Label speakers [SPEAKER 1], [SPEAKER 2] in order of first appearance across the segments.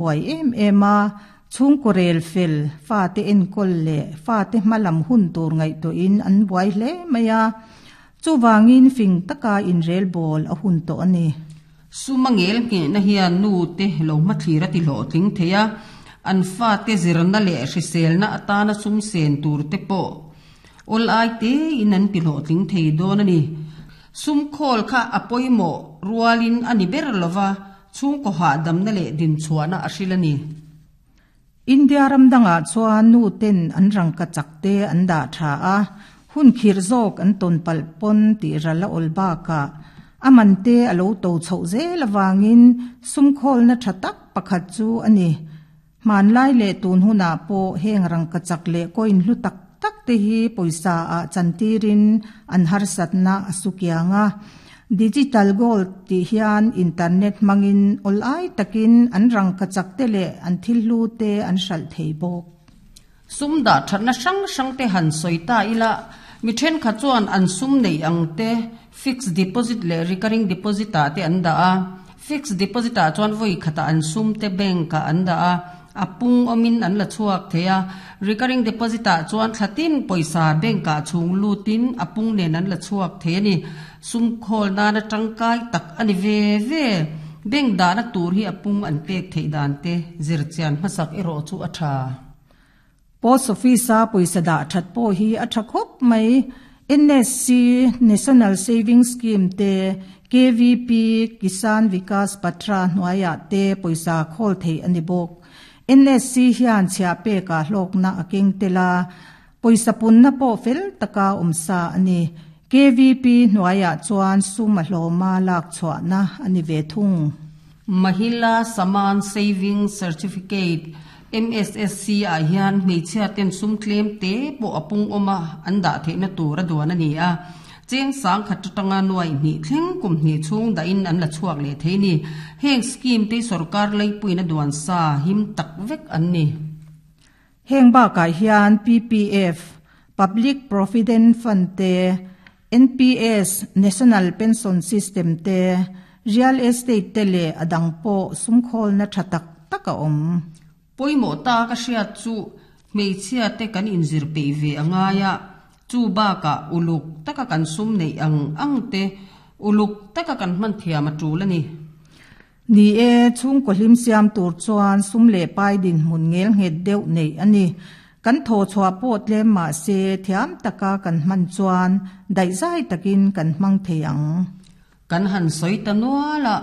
[SPEAKER 1] Buai em em a, chhungkaw rel fel, fate enkawl leh fate hmalam hun tur ngaihtuahin an buai hle mai a, chuvangin fing taka inrel bawl a hun tawh a ni.
[SPEAKER 2] Sum a ngel nghehna hian nu te lo hmathlir a ti hlawhtling thei a, an fate zirna leh hriselna atana sum sen tur te pawh awl ai tein an ti hlawhtling thei dawn a ni. Sum khawl kha a pawimawh rualin a ni ber lova, Chhungkaw hahdamna leh dinchhuahna a hril a ni.
[SPEAKER 1] India ram dangah chuan nu ten an rangka chak te an dah tha a, hun khirh zawk an tawn palh pawn tih ral a awl bakah a man te a lo to chhoh zel avangin sumkhawlna tha tak pakhat chu a ni. Hmanlai leh tun hunah pawh heng rangka chak leh coin hlu tak tak te hi pawisa ah chantirin an harsatna a su kiang a. Digital gold tih hian internet hmangin awl ai takin an rangka chak te leh an thil hlu te an hralh thei bawk.
[SPEAKER 2] Sum dah thatna hrang hrang te han sawi ta ila, mi thenkhat chuan an sum neih ang te fixed deposit leh recurring deposit ah te an dah a. Fixed deposit ah chuan vawi khatah an sum te bank ah an dah a, a pung awmin an la chhuak thei a. Recurring deposit ah chuan thla tin pawisa bank ah chhung lutin a pung nen an la chhuak thei a ni. Sum khawl nana tangkai tak a ni ve ve. Bank dahna tur hi a pung an pek theih dan te zirchian hmasak erawh chu a tha.
[SPEAKER 1] Post Office-a pawisa dah that pawh hi a tha khawp mai. NSC, National Savings Scheme, te, KVP, Kisan Vikas Patra, hnuaiah te pawisa khawl theih a ni bawk. NSC hian chhiah pekah hlawkna a keng tel a, pawisa punna pawh fel taka awm sa a ni. KVP hnuaiah chuan sum a hlawma lak chhuahna a ni ve thung.
[SPEAKER 2] Mahila Samman Savings Certificate, MSSC, ah hian hmeichhia ten sum tlem te pawh a pung awm a, an dah theihna tur a duan a ni a. Cheng sangkhat atanga nuaih hnih thleng kum hnih chhung dahin an la chhuak leh thei ni. Heng scheme te hi sorkar leipuiin a duan sa him tak vek an ni.
[SPEAKER 1] Heng bakah hian PPF, Public Provident Fund, te, NPS, National Pension System, te, Real Estate te leh a dang pawh sumkhawlna tha tak tak a awm.
[SPEAKER 2] Pawimawh ta ka hriat chu hmeichhia te kan inzir peih ve a ngai a, chu bakah uluk taka kan sum neih ang ang te uluk taka kan hman thiam a tul a ni.
[SPEAKER 1] Ni e, chhungkaw hlim siam tur chuan sum leh pai dinhmun ngel nghet deuh neih a ni. Kan thaw chhuah pawh tlem mah se thiam taka kan hman chuan daihzai takin kan hmang thei ang.
[SPEAKER 2] Kan han sawi ta nual a,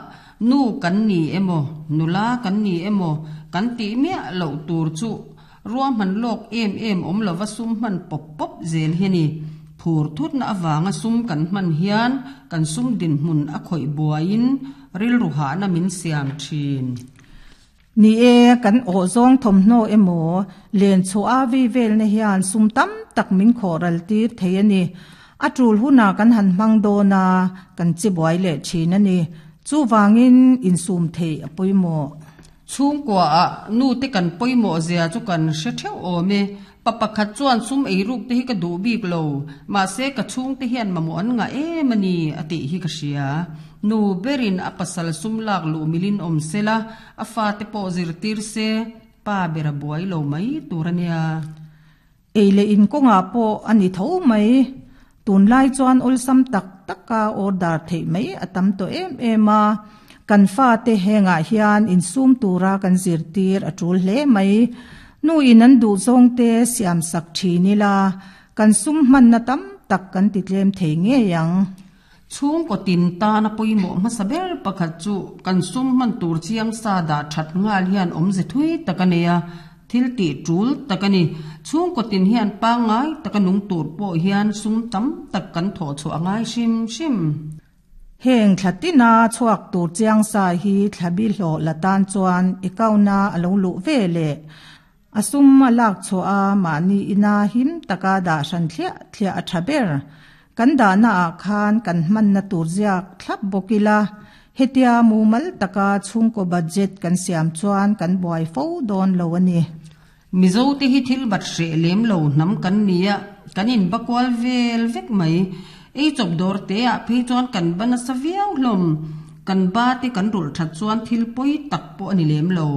[SPEAKER 2] nu kan ni emaw, nula kan ni emaw kan tih miah loh tur chu ruahman lawk em em awm lova sum hman pawp pawp zel hi a ni. Phur thutna avanga sum kan hman hian kan sum dinhmun a khawih buaiin rilru hahna min siam thin.
[SPEAKER 1] Ni e, kan awh zawng thawmhnaw emaw, len chhuah a vei velna hian sum tam tak min khawh ral tir thei a ni. A tul hunah kan han hmang dawn a, kan che buai leh thin a ni. Chuvangin insum theih a pawimawh.
[SPEAKER 2] Chhungkua ah nu te kan pawimawh zia chu kan hre theuh awm e. Pa pakhat chuan sum eiruk te hi ka duh bik lo, mahse ka chhungte hian mamawh an ngah em a ni a tih hi ka hria. Nu berin a pasal sum lak luh milin awm se la, a fate pawh zirtir se, pa ber a buai lo mai tur a nia.
[SPEAKER 1] Ei leh in kawngah pawh a ni tho mai. Tunlai chuan awlsam tak taka order theih mai a tam tawh em em a, kan fate hengah hian insum tura kan zirtir a tul hle mai. Nu in an duh zawngte siam sak thin ila, kan sum hmanna tam tak kan ti tlem thei ngei ang.
[SPEAKER 2] Chhungkaw tin tana pawimawh hmasa ber pakhat chu kan sum hman tur chiang sa dah that nghal hian awmze thui tak a nei a, thil tih tul tak a ni. Chhungkaw tin hian pangngai taka nung tur pawh hian sum tam tak kan thawh chhuah a ngai hrim hrim.
[SPEAKER 1] Heng thla tina chhuak tur chiang sa hi thla bi hlawh la tan chuan account-a a lo luh ve leh a sum a lak chhuah a mahni ina him taka dah hran thliah thliah a tha ber. Kan dahna ah khan kan hmanna tur ziak thlap bawk ila, hetia mumal taka chhungkaw budget kan siam chuan kan buai fo dawn lo a ni.
[SPEAKER 2] Mizo te hi thil bat hreh lem lo hnam kan ni a, kan in ba kual vel vek mai. Ei chawp dawr te ah phei chuan kan ba nasa viau hlawm. Kan ba te kan rulh that chuan thil pawi tak pawh a ni lem lo.